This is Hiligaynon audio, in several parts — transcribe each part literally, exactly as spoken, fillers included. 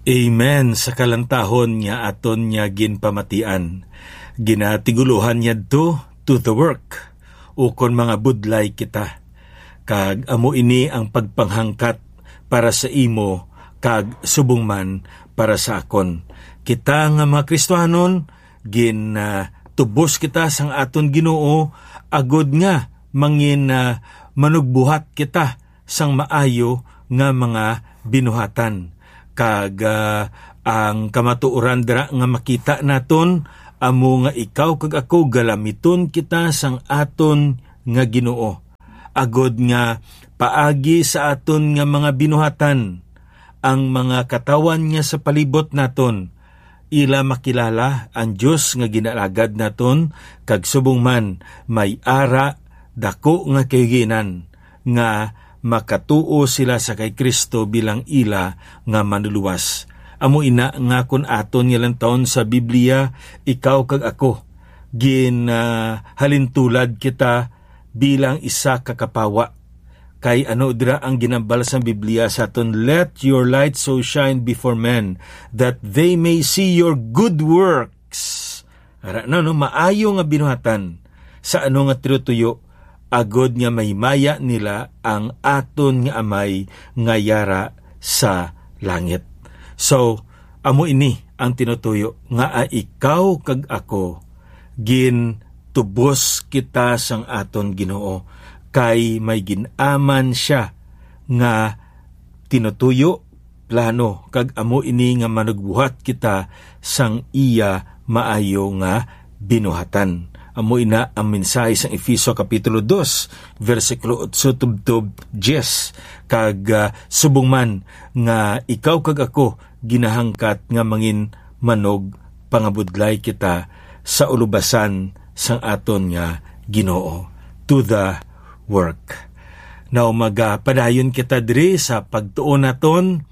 Amen sa kalantahon nga aton niya ginpamatian. Ginatigulohan niya to, to the work, ukon mga budlay kita. Kag amo ini ang pagpanghangkat para sa imo, kag subong man para sa akon. Kita nga mga Kristianon, gin, ah, tubos kita sang aton Ginoo, agod nga mangin, ah, manugbuhat kita sang maayo nga mga binuhatan. Kag, ah, ang kamatuoran dira nga makita naton amo nga ikaw kag ako galamiton kita sang aton nga Ginoo, agod nga paagi sa aton nga mga binuhatan, ang mga katawan nga sa palibot naton, ila makilala ang Dios nga ginaalagad naton, kag subong man may ara dako nga kahiginan nga makatuo sila sa kay Cristo bilang ila nga Manluluwas. Amo ina nga kon aton nga lantawon sa Biblia, ikaw kag ako, gin, ah, halintulad kita bilang isa ka kapawa. Kay ano dira ang ginambal sang Biblia sa aton, "Let your light so shine before men, that they may see your good works." Ara na, no, maayo nga binuhatan sa ano nga tinutuyo, agod nga mahimaya nila ang aton nga Amay nga yara sa langit. So, amo ini ang tinutuyo nga, ah, ikaw kag ako, gintubos kita sang aton Ginoo, kay may gin-aman sia nga tinutuyo, plano, kag amo ini nga manugbuhat kita sang iya maayo nga binuhatan. Amo ina ang mensahe sang Efeso Kapitulo dos, bersikulo otso tubtob diyes, kag, ah, subong man nga ikaw kag ako ginahangkat nga mangin manugpangabudlay kita sa ulobasan sang aton nga Ginoo. To the work. Now, magapadayon kita diri sa pagtuon naton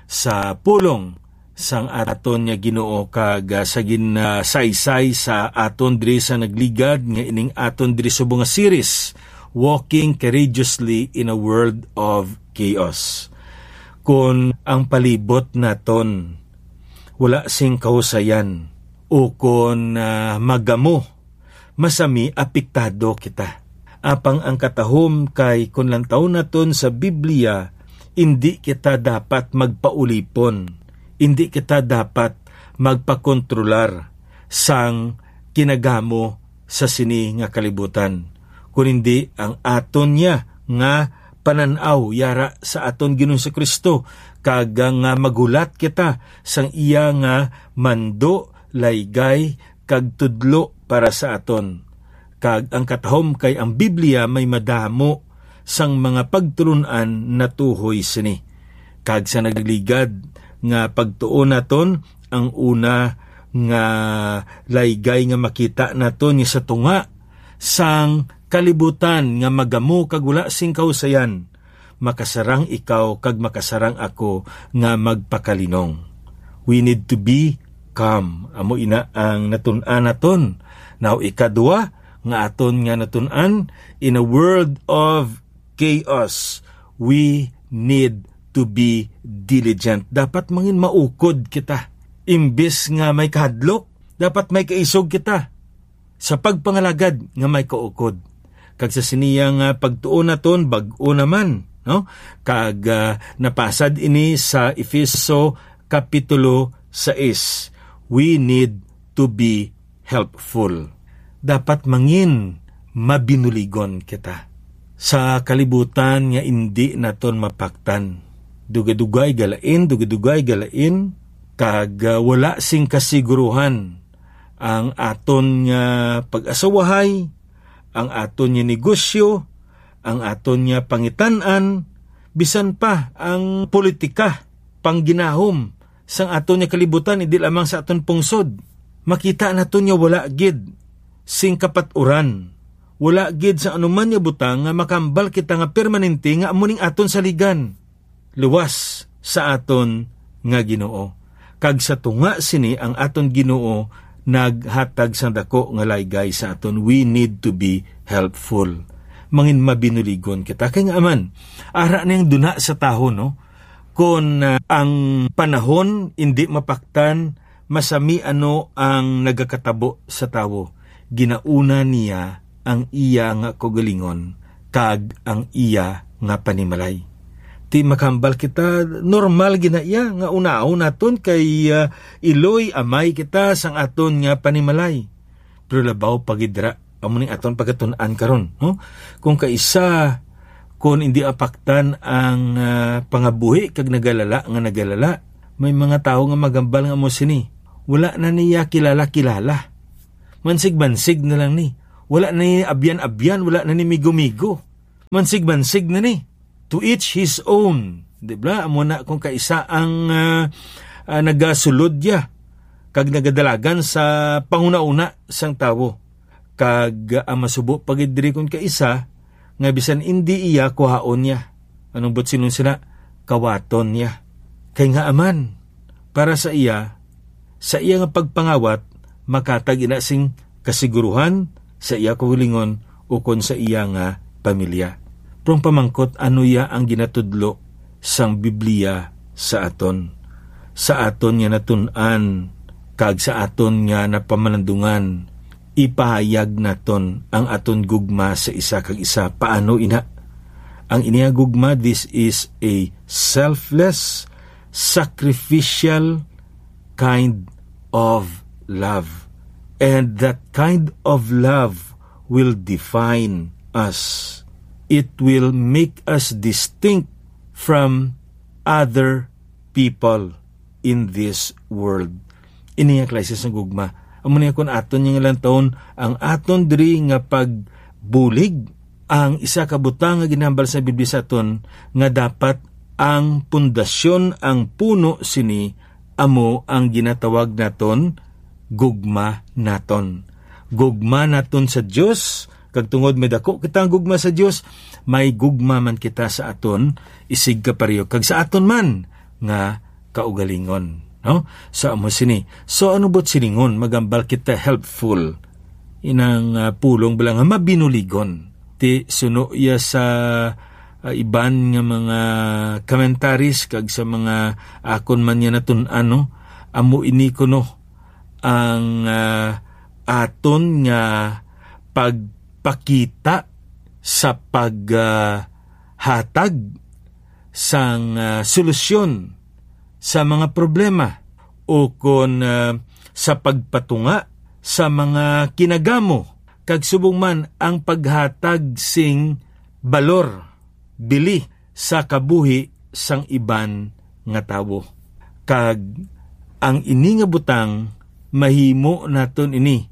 sa pulong sang aton nga Ginoo, kag, ah, sa gin-, ah, saysay sa aton diri sa nagligad nga ining aton diri subong nga series, Walking Courageously in a World of Chaos. Kon ang palibot naton wala sing kahusayan, o kon, ah, magamo, masami apektado kita. Apang ang katahom kay kon lantawon naton sa Biblia, indi kita dapat magpaulipon, indi kita dapat magpakontrolar sang kinagamo sa sini nga kalibutan, kun hindi ang aton niya nga panan-aw yara sa aton Ginoong Jesu-Cristo, kag nga maghulat kita sang iya nga mando, laygay, kag tudlo para sa aton. Kag ang katahom kay ang Biblia may madamo sang mga pagtulon-an natuhoy sini. Kag sa nagligad nga pagtuon naton, ang una nga laygay nga makita naton nga sa tunga sang kalibutan nga magamo kag wala sing kahusayan, makasarang ikaw kag makasarang ako nga magpakalinong. We need to be calm. Amo ina ang natun-an naton. Now, ikadua nga aton nga natun-an, in a world of chaos, we need to be diligent. Dapat mangin maukod kita. Imbis nga may kahadlok, dapat may kaisog kita sa pagpangalagad nga may kaukod. Kag sa siniya nga pagtuon naton, bag-o naman, no? Kag, ah, napasad ini sa Efeso Kapitulo sais. We need to be helpful. Dapat mangin mabinuligon kita sa kalibutan nga indi naton mapaktan. Dugay-dugay galain, dugay-dugay galain, kag, ah, wala sing kasiguruhan ang aton nga pag-asawahay, ang aton nga negosyo, ang aton nga pangitan-an, bisan pa ang politika, pangginahom sang aton nga kalibutan, hindi lamang sa aton pungsod. Makita naton nga wala gid sing kapat-uran, wala gid sa anuman nga butang nga makambal kita nga permanente nga amo ning aton saligan. Luwas sa aton nga Ginoo. Kag sa tunga sini ang aton Ginoo naghatag sang dako nga laygay sa aton. We need to be helpful. Mangin mabinuligon kita. Kay nga man, ara na ang duna sa tawo, no? Kon, ah, ang panahon indi mapaktan, masami ano ang nagakatabo sa tawo, ginauna niya ang iya nga kaugalingon kag ang iya nga panimalay. Ti makahambal kita, normal gid na iya nga unaon naton kay, ah, iloy amay kita sang aton nga panimalay. Pero labaw pa gid dira, amo ning aton pagatun-an karon, no? Kung kaisa, kung indi apaktan ang, ah, pangabuhi kag nagalala nga nagalala, may mga tawo nga magambal nga mo sini, wala na niya kilala-kilala. Mansig-mansig na lang ni. Wala na ni abyan-abyan, wala na ni migo-migo. Mansig-mansig na ni. To each his own. Di ba? Amo na kung kaisa ang, ah, ah, nagasulod ya kag nagadalagan sa panghunahuna sang tawo. Kag, ah, ang masubo pa gid diri kung kaisa nga bisan indi iya, kuhaon niya. Anong buot silingon sina? Kawaton niya. Kay nga aman, para sa iya, sa iya nga pagpangawat, makatag ina sing kasiguruhan sa iya kaugalingon ukon sa iya nga pamilya. Pero ang pamangkot, ano iya ang ginatudlo sang Biblia sa aton? Sa aton nga natun-an kag sa aton nga napamalandungan, ipahayag naton ang aton gugma sa isa kag isa. Paano ina? Ang ini nga gugma, this is a selfless, sacrificial kind of love. And that kind of love will define us. It will make us distinct from other people in this world. Ini nga klase sang gugma. Amo niya, kung aton nga lantawon ang aton diri nga pagbulig, ang isa ka butang nga ginhambal sa Biblia sa aton nga dapat ang pundasyon, ang puno sini, amo ang ginatawag naton gugma naton. Gugma naton sa Dios, kag tungod may dako kita ang gugma sa Dios, may gugma man kita sa aton isig kapareho kag sa aton man nga kaugalingon, no? Sa amo sini. So, ano buot silingon? Magambal kita helpful. Inang, ah, pulong bala nga mabinuligon. Ti suno iya sa, ah, iban nga mga commentaries kag sa mga akon man niya natun-an, no? Amo ini kuno ang, ah, aton nga pagpakita sa pag, ah, hatag sang, ah, solusyon sa mga problema, o kon, ah, sa pagpatunga sa mga kinagamo, kag subong man ang paghatag sing balor, bili sa kabuhi sang iban nga tawo. Kag ang ini nga butang, mahimo naton ini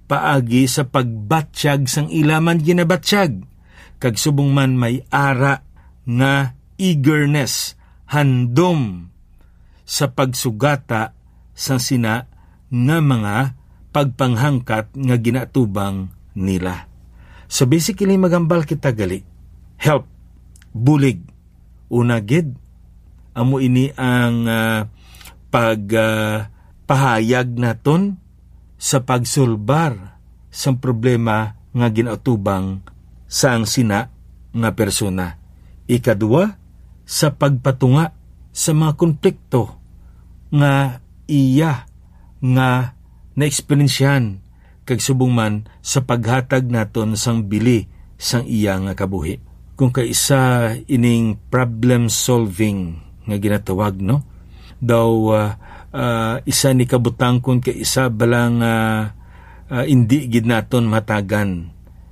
paagi sa pagbatyag sang ila man ginabatyag, kag subong man may ara nga eagerness, handom sa pagsugata sang sina nga mga pagpanghangkat nga ginaatubang nila. So, basically, magambal kita gali. Help, bulig. Una gid, amo ini ang, ah, pag, ah, pahayag naton sa pagsulbar sang problema nga ginaatubang sang sina nga persona. Ikadua, sa pagpatunga sa mga konflikto nga iya nga naeksperyensyahan, kag subong man sa paghatag naton sang bili sang iya nga kabuhi. Kung kaisa ining problem solving nga ginatawag, no? Daw, ah, ah, isa ni kabutang kung kaisa bala nga, ah, indi gid naton matagan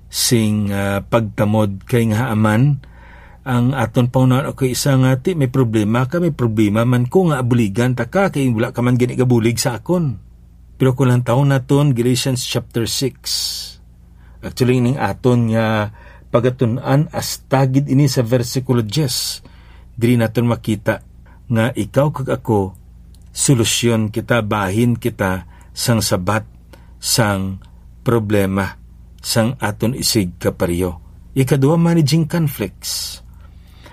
sing, ah, pagtamod, kay nga aman ang aton pangunahan, okay, isa nga ti may problema ka, may problema man ko nga abuligan ta ka, kay wala ka man gani gabulig sa akon. Pero kung lantawon naton Galatians chapter six, actually, ning aton nga pagatun-an, hasta gid ini sa bersikulo diyes, diri naton makita nga ikaw kag ako, solusyon kita, bahin kita sang sabat sang problema sang aton isig kapareho. Ikadua, managing conflicts.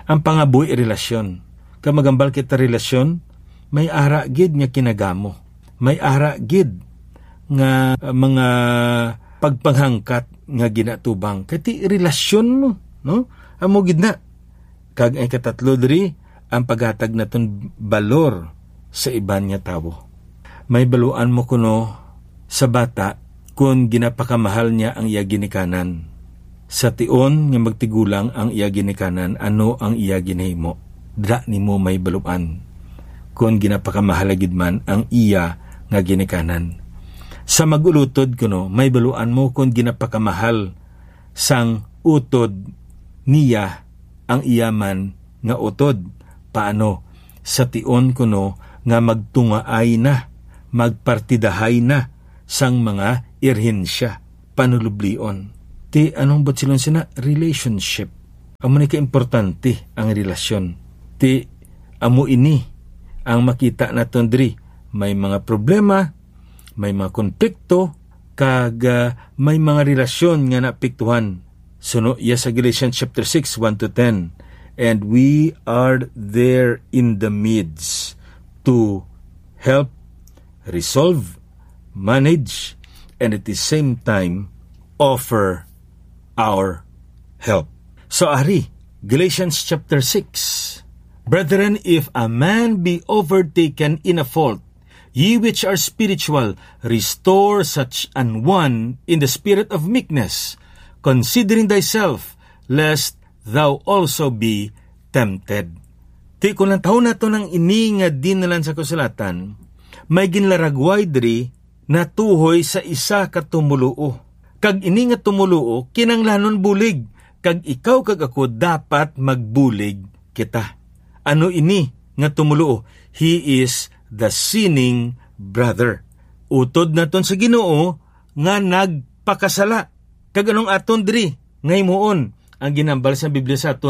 Ang pangabuhi relasyon. Kag magambal kita relasyon, may ara gid nga kinagamo. May ara gid nga, uh, mga pagpanghangkat nga ginatubang. Kay ti relasyon mo, no? Amo gid na. Kag ang ikatatlo diri, ang paghatag naton balor sa iban nga tawo. May baluan mo kuno sa bata kon ginapakamahal niya ang iya ginikanan. Sa tion nga magtigulang ang iya ginikanan, ano ang iya ginahimo? Dira nimo may baluan kon ginapakamahal gid man ang iya nga ginikanan. Sa mag-ulutod kuno, may baluan mo kon ginapakamahal sang utod niya ang iya man nga utod. Paano? Sa tion kuno nga magtungaay na, magpartidahay na sang mga irhensya, panulublion. Ti anong buot siling sina? Relationship. Amo ni kaimportante ang relasyon. Ti amo ini ang makita naton diri. May mga problema, may mga konflikto, kag, ah, may mga relasyon nga naapektuhan. Suno iya sa Galatians chapter six, one to ten. And we are there in the midst to help resolve, manage, and at the same time, offer our help. So, ari, Galatians chapter six. Brethren, if a man be overtaken in a fault, ye which are spiritual, restore such an one in the spirit of meekness, considering thyself, lest thou also be tempted. Ti kon lantawon naton ang ini nga dinalan sa kasulatan, may ginlaragway diri natuhoy sa isa ka tumoluo. Kag ini nga tumoluo kinahanglanon bulig, kag ikaw kag ako dapat magbulig kita. Ano ini nga tumoluo? He is the sinning brother. Utod naton sa Ginoo nga nagpakasala. Kag anong aton diri nga himuon? Ang ginhambal sa Biblia sa aton,